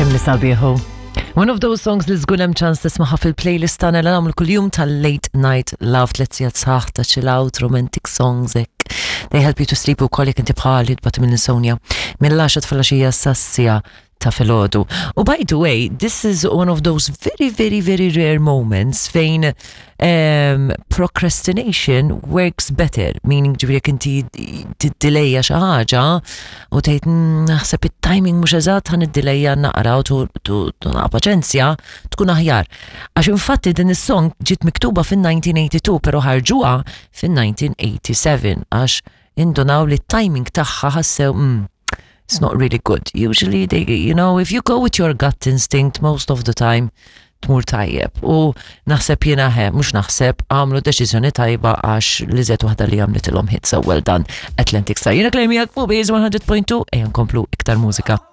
Kemm sabiħu. One of those songs li żgur hemm ċans tismaħa fil-playlist tagħna li nagħmlu kuljum tal-Late Night Love tliet sigħat sħaħ ta' chill out romantic songs hekk. They help you to sleep ukoll jekk inti bħali tbati minn insomnia. Mill-10 filgħaxija sas-siegħa ta' filgħodu. U by the way, this is one of those very, very, very rare moments fejn procrastination works better, meaning ġifieri jekk inti tiddelejja xi ħaġa u tgħid naħseb it-timing mhux eżatt ħa niddilejja naqra u tu paċenzja tkun aħjar. Għax infatti din is-song ġiet miktuba fin-1982 però ħarġuha fin-1987 għax indunaw li t-timing tagħha ħassew it's not really good. Usually they, if you go with your gut instinct most of the time tmur tajjeb. U naħseb jiena he, mhux naħseb għamlu deċiżjoni tajba għax li zet waħda li għamlet ilhom hit so well done Atlantic Star. Jiena Claire miegħek fuq Base 100.2 ejja nkomplu iktar mużika.